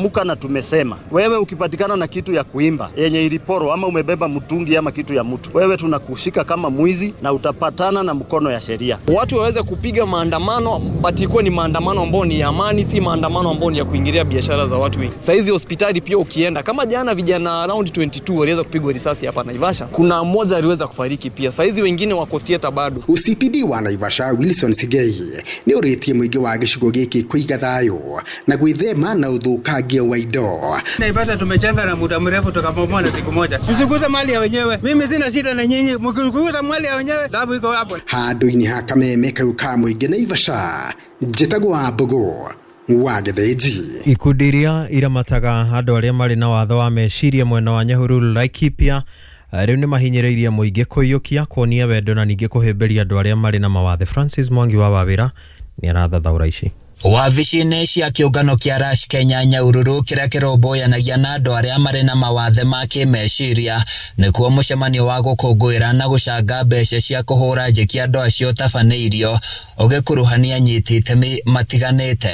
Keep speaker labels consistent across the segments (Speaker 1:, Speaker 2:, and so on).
Speaker 1: Tumeamuka na tumesema, wewe ukipatikana na kitu ya kuimba yenye iliporwa ama umebeba mtungi ama kitu ya mtu, wewe tunakushika kama mwizi na utapatana na mkono ya sheria.
Speaker 2: Watu waweze kupiga maandamano, but ikuwe ni maandamano ambayo ni ya amani, si maandamano ambayo ni ya kuingilia biashara za watu wengi. Saizi hospitali pia ukienda, kama jana vijana around 22 waliweza kupigwa risasi hapa Naivasha, kuna mmoja aliweza kufariki pia. Saizi wengine wako theater bado.
Speaker 3: OCPD wa Naivasha Wilson Sigei nĩ ũrĩtie mũingĩ wa gĩcigo gĩkĩ kũiga thayũ na gwĩthema na ũthũkangia wa indo.
Speaker 4: Naivasha tumechenga na muda mrefu tukabomoa na siku moja. Tusiguze mali ya wenyewe. Mimi sina shida na nyinyi, mkiguza mali ya wenyewe dhahabu iko hapo.
Speaker 3: Handũ-inĩ ha kameme kau ka mũingĩ Naivasha, njĩtagwo Wambũgũ wa Gĩthĩnji.
Speaker 5: Ikundi iria iramataga andũ arĩa marĩ na watho wa meciria mwena wa Nyahururu Laikipia rĩu nĩ mahinyĩrĩirie mũingĩ kũiyũkia kuonia wendo na ningĩ kũhĩmbĩria andũ arĩa marĩ na mawathe. Francis Mwangi wa Wawĩra nĩ arathathaũra ici.
Speaker 6: Wabici-inĩ cia kĩũngano kĩa Rush Kenya Nyahururu kĩrĩa kĩrũmbũyanagia na andũ arĩa marĩ na mawathe ma kĩmeciria nĩkuo mũcemanio wa gũkũngũĩra na gũcanga mbeca cia kũhũra njeki andũ acio ũtabanĩirio ũgĩkuruhania anyiti itemi matiganĩte.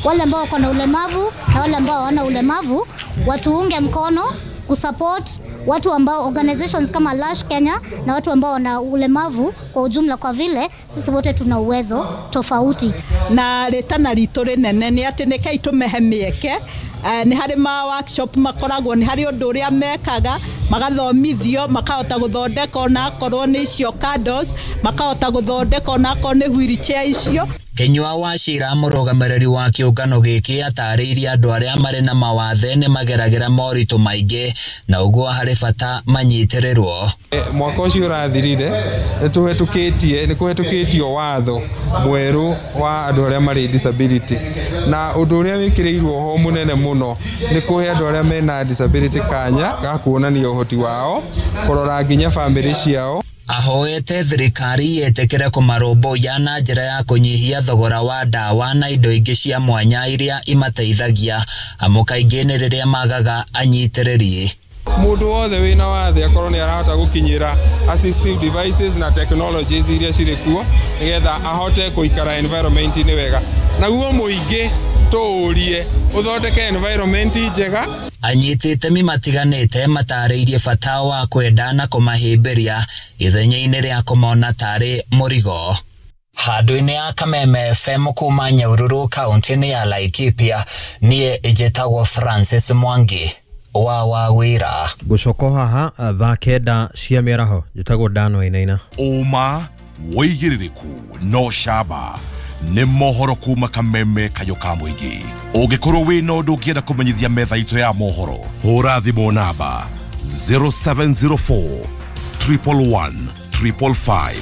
Speaker 7: Wale ambao wako na ulemavu na wale ambao hawana ulemavu watuunge mkono kusupport watu ambao organizations kama Lush Kenya na watu ambao wana ulemavu kwa ujumla, kwa vile sisi wote tuna uwezo tofauti.
Speaker 8: Na rĩtana ritũ rĩnene nĩ atĩ nĩkei tũmehe mĩeke, nĩ harĩ ma workshop makoragwo, nĩ harĩ ũndũ ũrĩa mekaga magathomithio makahota gũthondeka onakorwo nĩ icio candles, makahota gũthondeka onakorwo nĩ wheelchair icio.
Speaker 6: Kinyua wa Cira mũrũgamĩrĩri wa kĩũngano gĩkĩ atarĩirie andũ arĩa marĩ na mawathe nĩ mageragĩra moritũ maingĩ na ũguo harĩ bata manyitĩrĩrwo.
Speaker 9: Mwaka ũcio ũrathirire nĩ kũhetũkĩtio watho mwerũ wa andũ arĩa marĩ disability, na ũndũ ũrĩa wĩkĩrĩirwo ho mũnene mũno nĩ kũhe andũ arĩa mena disability kanya ga kuonania ũhoti wao, kũrora nginya bamĩrĩ ciao.
Speaker 6: Ahoete thirikari yetĩkĩre kũmarũmbũiya na njĩra ya kũnyihia thogora wa ndawa na indo ingĩ cia mwanya iria imateithagia, amu kaingĩ nĩ rĩrĩa magaga anyitĩrĩri.
Speaker 9: Mũndũ wothe wĩna wathe akorwo nĩ arahota gũkinyĩra assistive devices na technologies iria cirĩ kuo nĩgetha ahote gũikara environment-inĩ wega, naguo mũingĩ tũũrie ũthondeke environment njega.
Speaker 6: Anyiti itemi matiganĩte matarĩirie bata wa kwenda na kũmahĩmbĩria ithenya-inĩ rĩa kũmona tarĩ mũrigo. Handũ-inĩ ya Kameme FM kuma Nyahururu kaunti-inĩ ya Laikipia, niĩ njĩtagwo Francis Mwangi wa Wawĩra.
Speaker 5: Gũcoka haha thaa 9 cia mĩaraho, njĩtagwo Dan Wainaina.
Speaker 10: Ũma wĩigĩrĩrĩku no camba nĩ mohoro kuma Kameme kayũ ka mũingĩ. Ũngĩkorwo wĩna ũndũ ũngĩenda kũmenyithia metha itũ ya mohoro, hũra thimũ namba 0704 111 555.